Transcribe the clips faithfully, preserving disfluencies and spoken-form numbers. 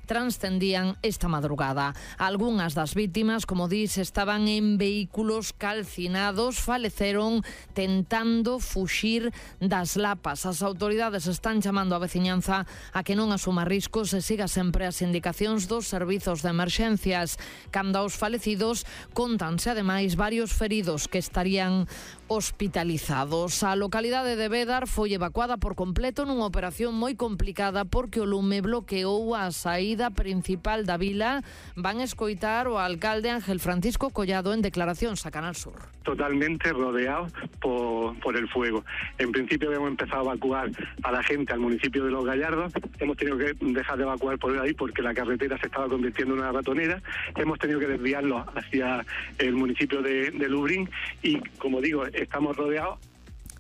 transcendían esta madrugada. Algunhas das vítimas, como dis, estaban en vehículos calcinados, faleceron tentando fuxir das lapas. As autoridades están chamando a veciñanza a que non asuma riscos e siga sempre as indicacións dos servizos de emerxencias. Cando aos falecidos, contanse ademais varios feridos que estarían hospitalizados. A localidade de Bédar foi evacuada por completo nunha operación moi complicada porque o lume bloqueou a saída principal da vila. Van escoitar o alcalde Ángel Francisco Collado en declaracións a Canal Sur. Totalmente rodeado por, por el fuego. En principio hemos empezado a evacuar a la gente al municipio de Los Gallardos. Hemos tenido que dejar de evacuar por ahí porque la carretera se estaba convirtiendo en una ratonera. Hemos tenido que desviarlos hacia el municipio de, de Lubrín y, como digo, estamos rodeados.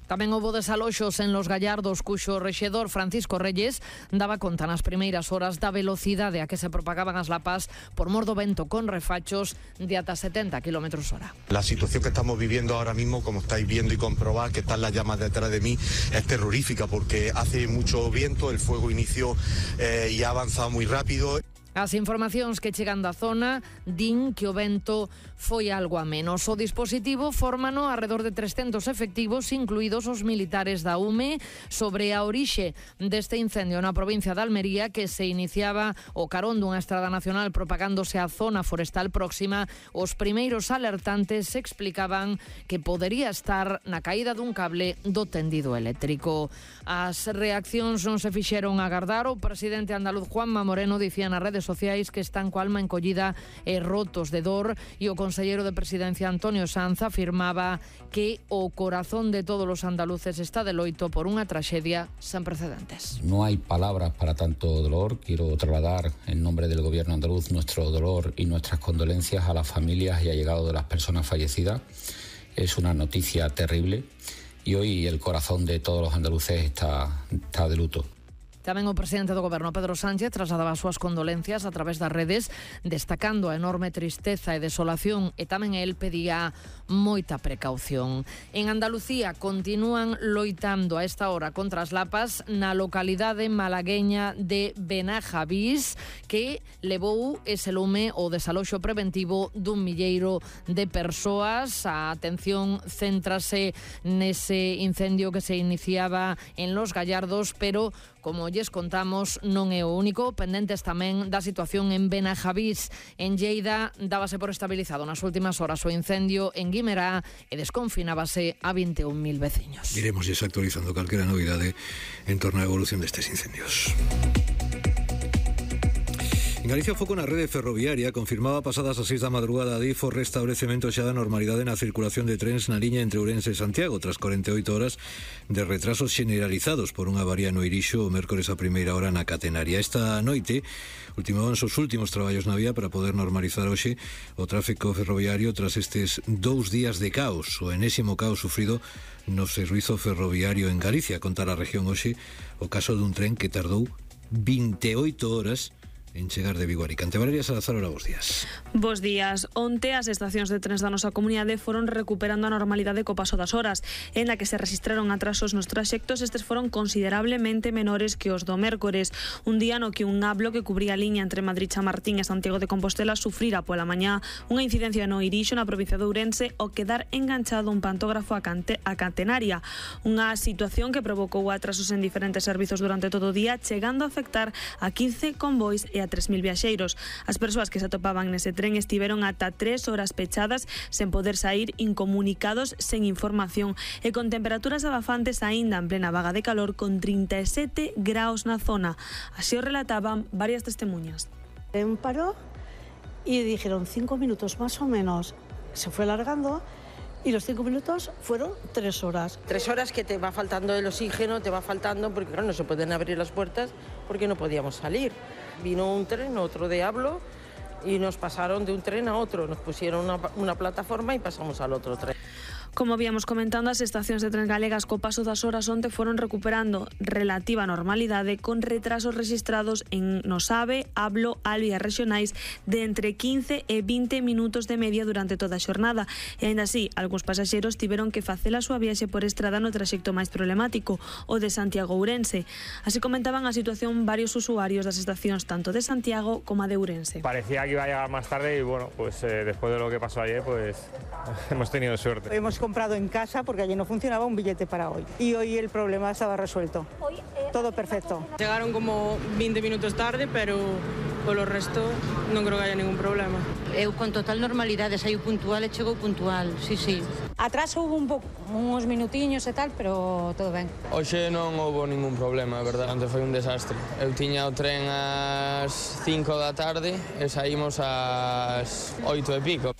Tamén houbo desaloxos en Los Gallardos, cuxo rexedor Francisco Reyes daba conta nas primeiras horas da velocidade a que se propagaban as lapas por mor do vento con refachos de ata setenta kilómetros hora. La situación que estamos viviendo ahora mismo, como estáis viendo y comprobad que están las llamas detrás de mí, es terrorífica porque hace mucho viento, el fuego inició eh, y ha avanzado muy rápido. As informacións que chegan da zona din que o vento foi algo a menos. O dispositivo fórmano arredor de trescentos efectivos, incluídos os militares da U M E, sobre a orixe deste incendio na provincia de Almería, que se iniciaba o carón dunha estrada nacional propagándose á zona forestal próxima. Os primeiros alertantes explicaban que podería estar na caída dun cable do tendido eléctrico. As reaccións non se fixeron agardar. O presidente andaluz Juanma Moreno dicía nas redes sociais que están coa alma encollida e rotos de dor, e o conselleiro de Presidencia Antonio Sanz afirmaba que o corazón de todos os andaluces está de loito por unha traxedia sen precedentes. No hay palabras para tanto dolor. Quiero trasladar en nombre del gobierno andaluz nuestro dolor y nuestras condolencias a las familias y allegados de las personas fallecidas. Es una noticia terrible y hoy el corazón de todos los andaluces está, está de luto. Tamén o presidente do Goberno, Pedro Sánchez, trasladaba as súas condolencias a través das redes, destacando a enorme tristeza e desolación, e tamén el pedía moita precaución. En Andalucía continúan loitando a esta hora contra as lapas na localidade malagueña de Benajavís, que levou ese lume o desaloxo preventivo dun milleiro de persoas. A atención céntrase nese incendio que se iniciaba en Los Gallardos, pero como lles contamos, non é o único. Pendentes tamén da situación en Benajavís. En Lleida dábase por estabilizado nas últimas horas o incendio en Guimerá e desconfinábase a vinte e un mil veciños. Iremos desactualizando calquera novidade en torno á evolución destes incendios. En Galicia, o foco na rede ferroviaria confirmaba pasadas as seis da madrugada a Adif o restablecemento xa da normalidade na circulación de trens na liña entre Ourense e Santiago, tras corenta e oito horas de retrasos generalizados por unha avaría no Irixo o mércores a primeira hora na Catenaria. Esta noite ultimaban os últimos traballos na vía para poder normalizar hoxe o tráfico ferroviario tras estes dous días de caos, o enésimo caos sufrido no servizo ferroviario en Galicia. Conta a región hoxe o caso dun tren que tardou vinte e oito horas en chegar de Vigo a Alicante. Valeria Salazar, ora bos días. Bos días. Onte as estacións de trens da nosa comunidade foron recuperando a normalidade co paso das horas, en la que se registraron atrasos nos traxectos. Estes foron considerablemente menores que os do mércores, un día no que un nablo que cubría a liña entre Madrid Chamartín e Santiago de Compostela sufrira pola mañá unha incidencia no Irixo, na provincia de Ourense, ao quedar enganchado un pantógrafo a, Cante, a Catenaria, unha situación que provocou atrasos en diferentes servizos durante todo o día, chegando a afectar a quince convois e a tres mil viaxeiros. As persoas que se atopaban nese tren estiveron ata tres horas pechadas sen poder sair, incomunicados, sen información e con temperaturas abafantes aínda en plena vaga de calor, con trinta e sete graus na zona. Así o relataban varias testemunhas. En paró y dijeron cinco minutos más o menos. Se fue alargando y los cinco minutos fueron tres horas. Tres horas que te va faltando el oxígeno, te va faltando porque claro, no se pueden abrir las puertas porque no podíamos salir. Vino un tren, otro diablo, y nos pasaron de un tren a otro. Nos pusieron una, una plataforma y pasamos al otro tren. Como víamos comentando, as estacións de tren galegas co paso das horas onte foron recuperando relativa normalidade con retrasos rexistrados en Nosave, Ablo, Alvia rexionais de entre quince e vinte minutos de media durante toda a xornada. E aínda así, algúns pasaxeros tiveron que facer a súa viaxe por estrada no traxecto máis problemático, o de Santiago-Ourense. Así comentaban a situación varios usuarios das estacións tanto de Santiago como a de Ourense. Parecía que iba a llegar más tarde y bueno, pues eh, después de lo que pasó ayer, pues hemos tenido suerte. Hemos comprado en casa porque allí no funcionaba un billete para hoy y hoy el problema estaba resuelto. Todo perfecto. Llegaron como veinte minutos tarde, pero por lo resto non creo que haya ningún problema. Eu con total normalidade, saiu puntual e chegou puntual, sí, sí. Atraso hubo un pouco, uns minutiños e tal, pero todo ben. Hoxe non houve ningún problema, a verdade, onte foi un desastre. Eu tiña o tren ás cinco da tarde e saímos ás oito e pico.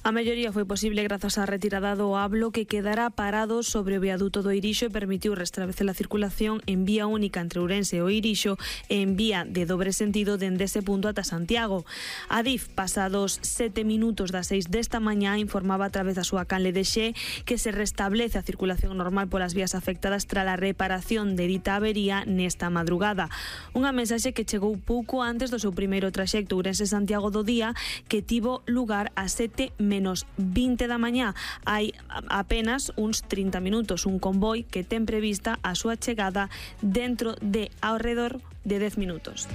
A melloría foi posible grazas á retirada do Ablo que quedará parado sobre o viaduto do Irixo e permitiu restablecer a circulación en vía única entre Ourense e o Irixo e en vía de dobre sentido dende ese punto ata Santiago. A DIF, pasados sete minutos das seis desta mañá, informaba a través da súa canle de Xe que se restablece a circulación normal polas vías afectadas tras a reparación de dita avería nesta madrugada. Unha mensaxe que chegou pouco antes do seu primeiro traxecto Ourense-Santiago do día, que tivo lugar a sete menos vinte da mañá. Hai apenas uns trinta minutos un convoi que ten prevista a súa chegada dentro de ao redor de dez minutos.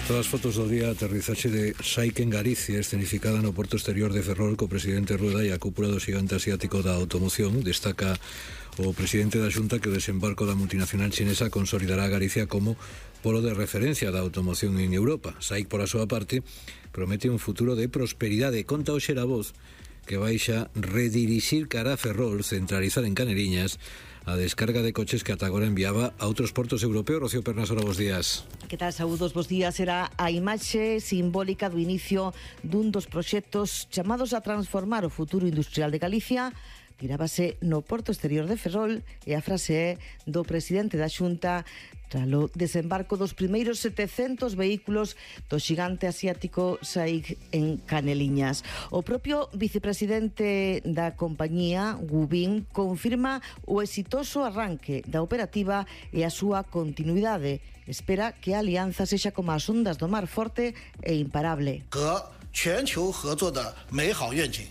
Todas as fotos do día, aterrizaxe de Saik en Galicia, escenificada no porto exterior de Ferrol co presidente Rueda e a cúpula do xigante asiático da automoción. Destaca o presidente da Xunta que o desembarco da multinacional chinesa consolidará a Galicia como polo de referencia da automoción en Europa. Saik, por a súa parte, promete un futuro de prosperidade. Conta hoxe a Voz que vai xa redirixir cara a Ferrol, centralizar en Caneliñas a descarga de coches que ata agora enviaba a outros portos europeos. Rocío Pernasola, bos días. Que tal, saúdos, bos días. Era a imaxe simbólica do inicio dun dos proxectos chamados a transformar o futuro industrial de Galicia. Tirábase no porto exterior de Ferrol e a frase é do presidente da Xunta tralo desembarco dos primeiros setecentos vehículos do xigante asiático Saik en Caneliñas. O propio vicepresidente da compañía, Gu Bin, confirma o exitoso arranque da operativa e a súa continuidade. Espera que a alianza sexa como as ondas do mar, forte e imparable.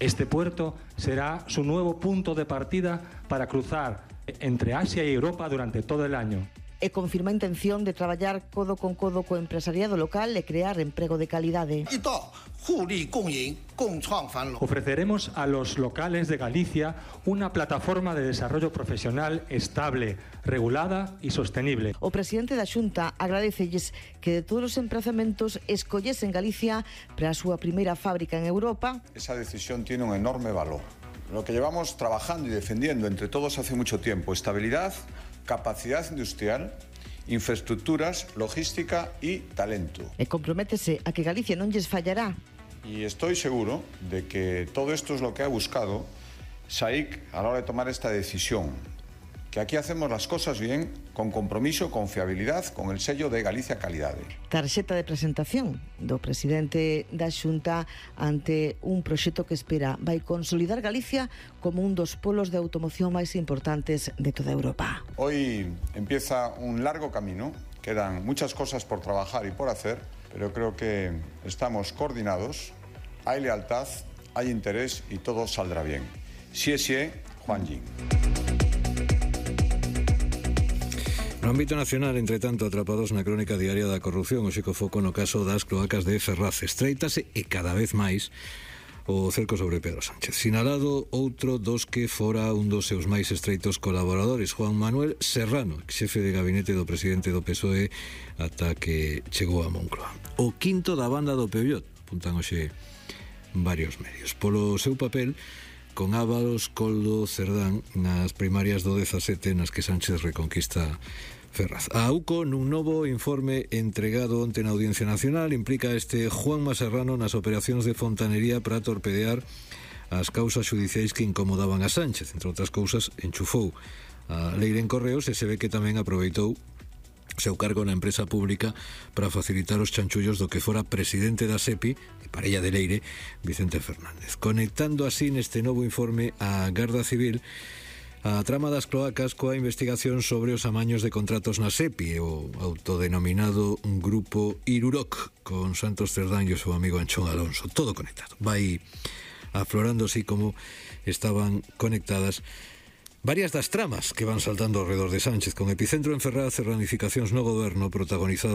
Este puerto será su nuevo punto de partida para cruzar entre Asia y Europa durante todo el año. E confirma a intención de traballar codo con codo co empresariado local e crear emprego de calidade. Ofreceremos a los locales de Galicia una plataforma de desarrollo profesional estable, regulada y sostenible. O presidente da Xunta agradecelles que de todos os emprazamentos escollesen Galicia para a súa primeira fábrica en Europa. Esa decisión tiene un enorme valor. Lo que llevamos trabajando y defendiendo entre todos hace mucho tiempo: estabilidad, capacidad industrial, infraestructuras, logística y talento. E comprométese a que Galicia non lles fallará. Y estoy seguro de que todo esto es lo que ha buscado Saik a la hora de tomar esta decisión. Que aquí hacemos las cosas bien, con compromiso, con fiabilidad, con el sello de Galicia Calidade. Tarxeta de presentación do presidente da Xunta ante un proxecto que espera vai consolidar Galicia como un dos polos de automoción máis importantes de toda Europa. Hoy empieza un largo camino, quedan muchas cosas por trabajar y por hacer, pero creo que estamos coordinados, hay lealtad, hay interés y todo saldrá bien. Xie xie, Juan Jin. No ámbito nacional, entre tanto, atrapados na crónica diaria da corrupción, o xico foco no caso das cloacas de Ferraz. Estreitase e cada vez máis o cerco sobre Pedro Sánchez. Sinalado outro dos que fora un dos seus máis estreitos colaboradores, Juan Manuel Serrano, xefe de gabinete do presidente do P S O E ata que chegou a Moncloa. O quinto da banda do Peugeot, apuntan hoxe varios medios. Polo seu papel con Ábalos, Coldo, Cerdán nas primarias do dezasete nas que Sánchez reconquista Ferraz. A AUCO, nun novo informe entregado onte na Audiencia Nacional, implica este Juanma Serrano nas operacións de fontanería para torpedear as causas xudiciais que incomodaban a Sánchez. Entre outras cousas, enchufou a leira en correos e se ve que tamén aproveitou seu cargo na empresa pública para facilitar os chanchullos do que fora presidente da SEPI e parella de Leire, Vicente Fernández. Conectando así neste novo informe a Garda Civil a trama das cloacas coa investigación sobre os amaños de contratos na SEPI, o autodenominado Grupo Iruroc, con Santos Cerdán e o seu amigo Anchón Alonso. Todo conectado. Vai aflorando así como estaban conectadas varias das tramas que van saltando ao redor de Sánchez, con epicentro en Ferraz e ramificacións no goberno protagonizado